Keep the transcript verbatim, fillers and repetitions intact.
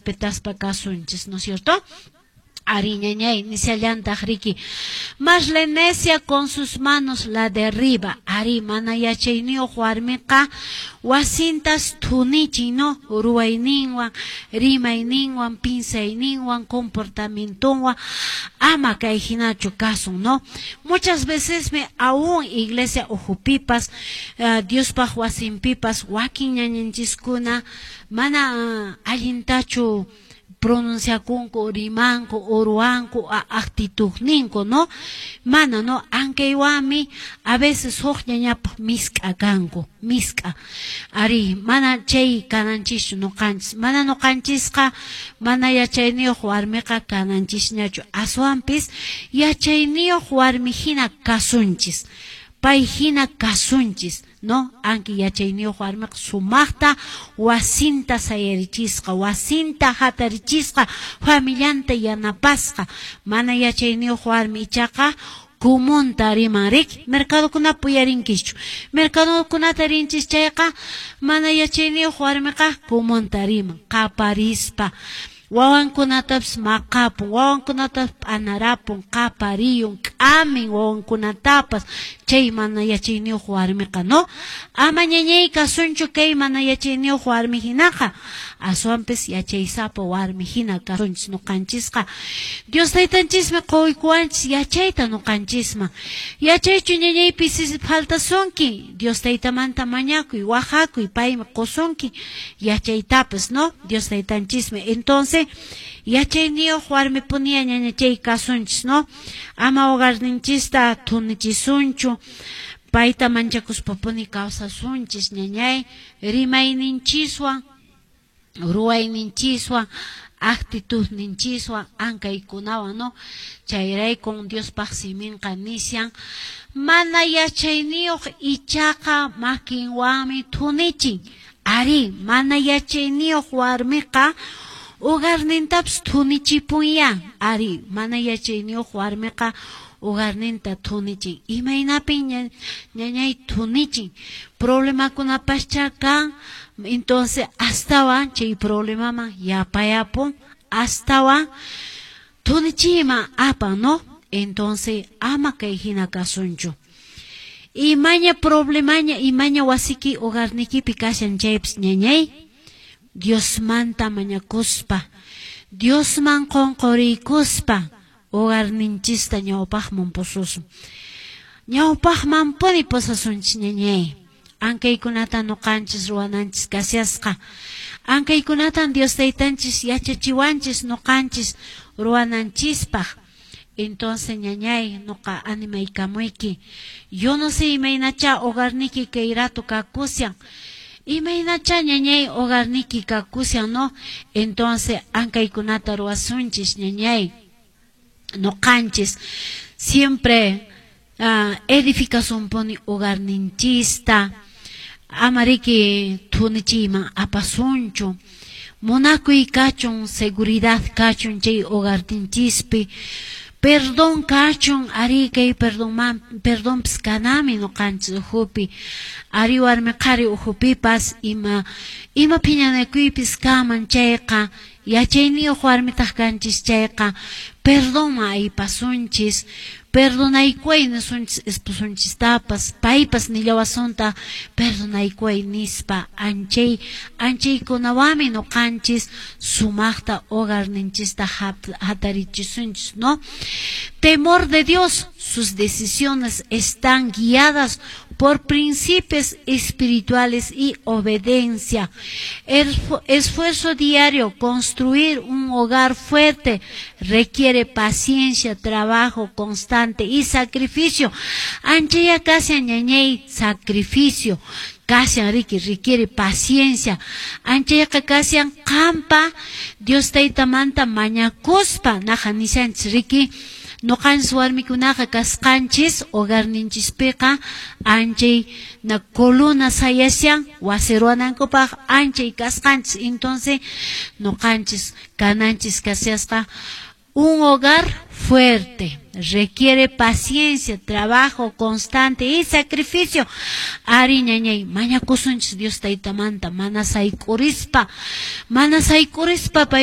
Respetaspa kasunchis, ¿no es cierto? Ari, ñañay, nisallantaq riki. Mas la necia con sus manos la derriba. Ari, mana yachayniyuq warmiqa wasintas thunichin, ¿no? Ruwayninwan, rimayninwan, pinsayninwan, comportamientonwan, ama kay hinachu kasun, ¿no? Muchas veces me aún iglesia ukhupipas, uh, Diospaq wasinpipas, wakin ñañanchiskuna mana uh, allintachu pronunciakunku, rimanku, uruwanku, actitudninku, ¿no? Mana, ¿no? Ankaywanmi a veces huk ñañapaq misk'a kanku, misk'a. Ari, mana chay kananchischu nuqanchis. Mana nuqanchisqa mana yachayniyuq warmiqa kananchisñachu. Aswanpis yachayniyuq warmi hina kasunchis. Pay hina kasunchis, ¿no? Anki yachayniyuq warmiqa sumaqta wasinta sayarichisqa, wasinta hatarichisqa, familianta yanapasqa. Mana yachayniyuq warmi ichaqa kumunta riman riki, mercadokunapi uyarinkichu. Mercadokunata rinchis chayqa mana yachayniyuq warmiqa kumunta riman, qaparispa. Wawankunatapas maqapun, wawankunatapas p'anarapun, qapariyun, k'amin wawankunatapas, chay mana yachayniyuq warmiqa, ¿no? Ama ñañay kasunchu kay mana yachayniyuq warmi hinaqa, aswanpis yachaysapa warmi hina kasunchis nuqanchisqa. Dios taytanchismi quykuwanchis yachayta nuqanchisman. Yachaychu ñañay pisi faltasunki, Dios taytamanta mañakuy, wajakuy, paymi qusunki yachaytapas, ¿no? Dios taytanchismi. Entonces, yachayniyuq warmipuniya ñaña chay kasunchis, ¿no? Ama hogarninchista thunichisunchu, payta manchakuspapuni kawsasunchis, ñañay, rimayninchiswan, ruwayninchiswan, actitudninchiswan, ankaykunawan, ¿no? Chayraykun Diospaq siminqa nishan, mana yachayniyuq ichaqa makinwanmi thunichin. Ari, mana yachayniyuq warmiqa hogarnintapas thunichipunya. Ari, mana yachayniyuq warmiqa hogarninta thunichin. Imaynapin ñañay thunichin? Problemakunapascha kan, entonces astawan chay problemaman yapayapun, astawan thunichiyman apan, ¿no? Entonces ama kay hina kasunchu. Imaña problemaña, imaña wasiki hogarnikipi kashan chaypis ñañay, Diosmanta mañakuspa, Diosman qunquriykuspa, hogarninchista ñawpaqman pususun. Ñawpaqman puni pusasunchis ñañay. Ankaykunata nuqanchis ruwananchis kashasqa. Ankaykunatan Dios taytanchis yachachiwanchis nuqanchis ruwananchispaq. Entonces ñañay, nuqa animaykamuyki. Yo no sé imaynacha hogarniki kay rato kakushan. Imaynacha ñañay hogarniki kakushan, ¿no? Entonces ankaykunata ruwasunchis ñañay. Nuqanchis siempre uh, edificasunpuni hogarninchista. Amariki thunichiyman apasunchu. Munakuy kachun, seguridad kachun chay hogarninchispi. Perdón kachun, ari kay perdón man, perdonpis kanami nuqanchis ukhupi. Ari warmi qhari ukhupipas ima ima phiñanakuypis kaman chayqa, yachayniyuq warmitaq kanchis chayqa, perdonman aypasunchis, perdonaykuway nisunchis esposunchistapas, paypas nillawasunta perdonaykuway nispa, anchay anchaykunawanmi nuqanchis sumaqta hogarninchista hatarichisunchis, ¿no? Temor de Dios, sus decisiones están guiadas por principios espirituales y obediencia. El esfuerzo diario, construir un hogar fuerte, requiere paciencia, trabajo constante y sacrificio. Anchaya casi ñañay sacrificio. Casi riki requiere paciencia. Anchayqa kashan qampa Dios taytamanta mañakuspa naja nishanchis riki. Nuqanchis warmikunaqa kasqanchis hogarninchispiqa anchay na coluna sayashan wasi ruwanankupaq anchay kasqanchis. Entonces nuqanchis kananchis kashasqa un hogar fuerte requiere paciencia, trabajo constante y sacrificio. Ari ñañay mañakusunchis Dios taytamanta mana sayk'urispa, mana sayk'urispa pay